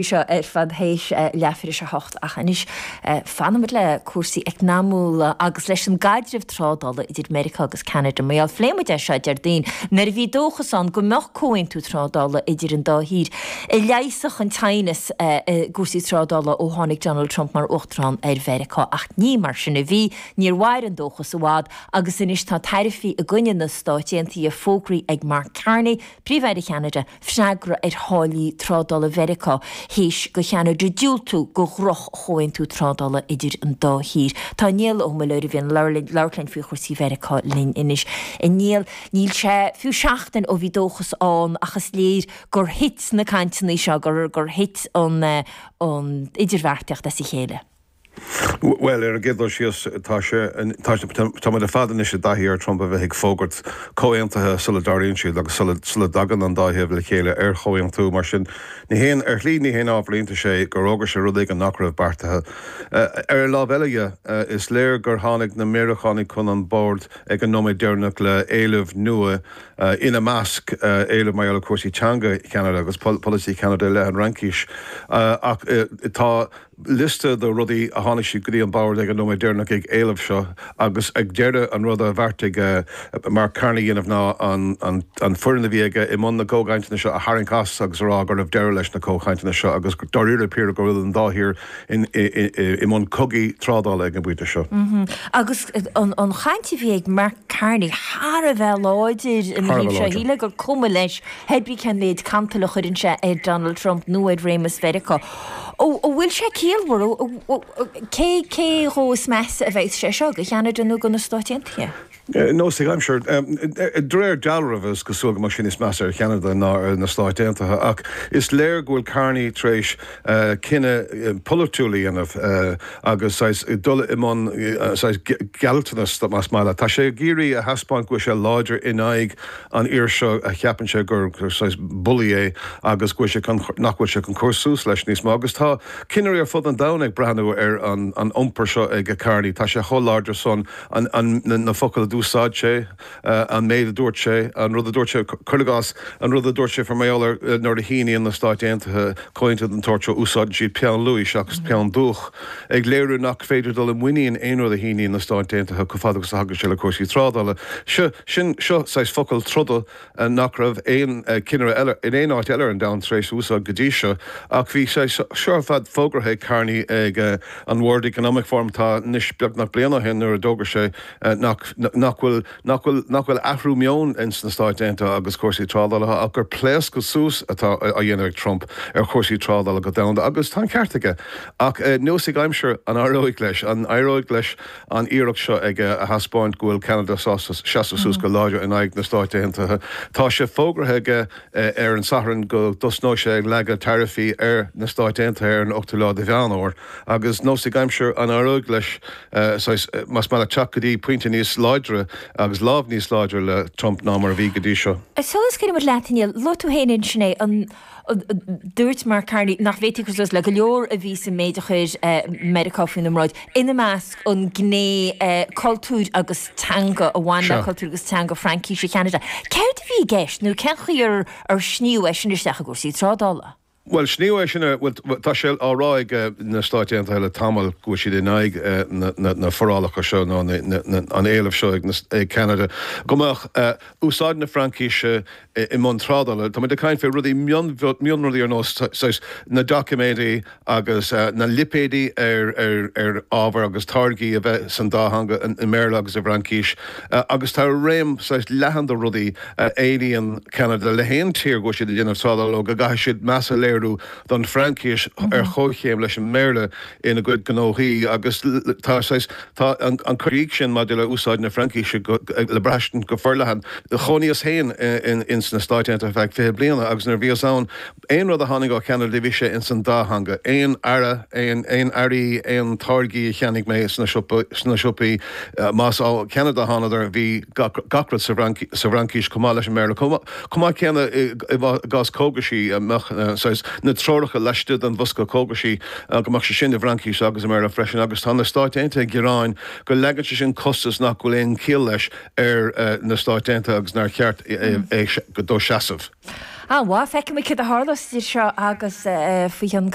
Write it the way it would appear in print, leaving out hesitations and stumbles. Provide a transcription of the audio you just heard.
Seo ar fad théis leathuair théis a hocht ach anois fanfaimid le cúrsaí eacnamúla agus leis an gcaidreamh trádála idir Meiriceá agus Ceanada. Mar gheall, phléigh muid é seo Déardaoin nuair a bhí dóchas ann go mbeadh comhaontú trádála idir an dá thír a leigheasfadh an teannas i gcúrsaí trádála ó tháinig Donald Trump mar Uachtarán ar Mheiriceá ach ní mar sin a bhí. Níor mhair an dóchas i bhfad agus anois tá taraifí i gcoinne na Stáit Aontaithe fógraithe ag Mark Carney, Príomh-Aire Cheanada, freagra ar tháillí trádála Mheiriceá théis do Cheanada diúltú do dhroch-chomhaontú trádála idir an dá thír. Tá Niall Ó Muilleoir, a bhíonn ag labhairt linn faoi chúrsaí Mheiriceá, linn anois. A Niall, níl sé fiú seachtain ó bhí dóchas ann ach is léir gur thit na cainteanna seo, gur thit an idirbheartaíocht as a chéile. Bhuel, ar an gcéad dul síos, tá sé, tá, tá muid ar fad anois i dtaithí ar Trump a bheith ag fógairt comhaontuithe sula dtarlaíonn siad agus sula, sula dtagann an dá thaobh le chéile ar chomhaontú. Mar sin, ní haon, ar shlí ní haon ábhar iontais é gur fhógair sé rud éigin nach raibh beartaithe. Ar an lámh eile dhe, is léir gur tháinig na Meiriceánaigh chun an bhoird ag an nóiméad deireanach le éilimh nua, ina measc, éilimh mar gheall ar chúrsaí teanga Cheanada agus polasaí Cheanada i leith an Fhraincis. Ach tá. liosta de rudaí a tháinig siad go dtí an bord ag an nóiméad deireanach ag éileamh seo agus ag deireadh an rud a bheartaigh Mark Carney a dhéanamh ná an foireann a bhí aige i mbun na gcomhchainteanna seo a tharraingt as agus a rá go raibh deireadh leis na comhchainteanna seo agus dáiríre píre go bhfuil an dá thír i mbun cogaí trádála ag an bpointe seo. Agus an chaint a bhí ag Mark Carney thar a bheith láidir ina thaobh seo, shílfeá gur cuma leis pé brí cén méid cantail a chuireann sé ar Donald Trump nó ar réimeas Mheiriceá. An bhfuil sé ciallmhar? Cé cé dhó is measa a bheidh sé seo, do Cheanada nó do na Stáit Aontaithe? Nós ag aimsir. De réir dealraimh, is cosúil go mbeadh sé níos measa ar Cheanada ná ar na Stáit Aontaithe, ach is léir go bhfuil Carney tar éis cinneadh polaitiúil a dhéanamh agus saghas dul i mbun saghas gealltanas, más maith leat. Tá sé ag iarraidh a thaispeáint go bhfuil sé láidir in aghaidh an fhir seo a cheapann sé gur saghas bullaí é agus go bhfuil sé chun, nach bhfuil sé chun cur suas leis níos mó. Agus tá cinnirí ar fud an domhain ag breathnú ar an iompar seo ag Carney. Tá sé chomh láidir san, an, na focail a d'úsáid sé, an méid a dúirt sé, an rud a dúirt sé, cuir i gcás, an rud a dúirt sé faoi mar gheall ar nuair a shíníonn na Stáit Aontaithe comhaontú den tsórt seo, úsáideann siad peann luaidhe seachas peann dúch, ag léiriú nach féidir dul i muinín aon rud a shíníonn na Stáit Aontaithe chomh fada agus a thagann sé le cúrsaí trádála. Seo. Sin, seo saghas focal troda nach raibh aon cinnire eile in aon áit eile ar an domhan tar éis úsáid go dtí seo. Ach bhí sé seo ar fad fógartha ag Carney ag an World Economic Forum tá anois beagnach bliain ó shin nuair a d'fhógair sé nach, nach bhfuil, nach bhfuil, nach bhfuil athrú meoin ins na Stáit Aontaithe agus cúrsaí trádála ach gur pléascadh suas atá á dhéanamh ag Trump ar chúrsaí trádála go domhanda agus tá an ceart aige. Ach nós ag aimsir, an éireoidh leis? An éireoidh leis an iarracht seo aige a thaispeáint go bhfuil Ceanada sásta seasamh suas go láidir in aghaidh na Stáit Aontaithe. Tá sé fógartha aige ar an Satharn go dtosnóidh sé ag leagadh taraifí ar na Stáit Aontaithe ar an ochtú lá de Mheán Fhómhair agus nós ag aimsir an éireoidh leis saghas, más maith leat, teacht go dtí pointe níos láidre agus lámh níos láidre le Trump ná mar a bhí go dtí seo. Sula scaoileann muid leat, a Niall, luaigh tú féin ansin é, an. Dúirt Mark Carney nach bhféadfaí cur suas le go leor a bhí sa méid a chuir Meiriceá faoina mbráid, ina measc an gné cultúir agus teanga a bhain le cultúr agus teanga Fraincíse Cheanada. Céard a bhí i gceist nó cén chaoi ar sníodh é sin isteach i gcúrsaí trádála? Bhuel, sníodh é sin, bhuel, tá sé á rá ag na Stáit Aontaithe le tamall go bhfuil siad in aghaidh na forálacha seo nó an éilimh seo ag Ceanada go mbeadh úsáid na Fraincíse i mbun trádála. Tá muid ag caint fé rudaí, mionrudaí ar nós saghas na doiciméidí agus na lipéidí ar ar ábhair agus táirgí a bheith san dá theanga, i mBéarla agus i bhFraincís. Agus tá réim saghas leathan de rudaí a éilíonn Ceanada le haon tír go bhfuil siad ag déanamh trádála leo go gcaithfidh siad meas a léiriú don Fhraincis ar chomhchéim leis an mBéarla ina gcuid gnóthaí agus tá saghas, tá an cur chuige sin maidir le úsáid na Fraincíse le braistint go forleathan. Chónaíos féin ins na Stáit Aontaithe ar feadh 20 bliana agus nuair a bhíos ann, aon rud a tháinig ó Cheanada bhí sé ins an dá theanga. Aon earra, aon earraí, aon táirgí a cheannaigh mé sna siopaí, más ó Cheanada a thánadar, bhí gach rud sa bhFraincís chomh maith leis an mBéarla. Chomh maith céanna i gcás cógaisí, mbeadh saghas na treoracha laistigh den bhosca cógaisí, go mbeadh sé sin i bhFraincís agus i mBéarla freisin agus tá na Stáit Aontaithe ag gearán go leagann sé sin costas nach bhfuil aon chiall leis ar na Stáit Aontaithe agus nár cheart é dó seasamh. An-mhaith, feicfidh muid céard a tharlós idir seo agus faoi cheann.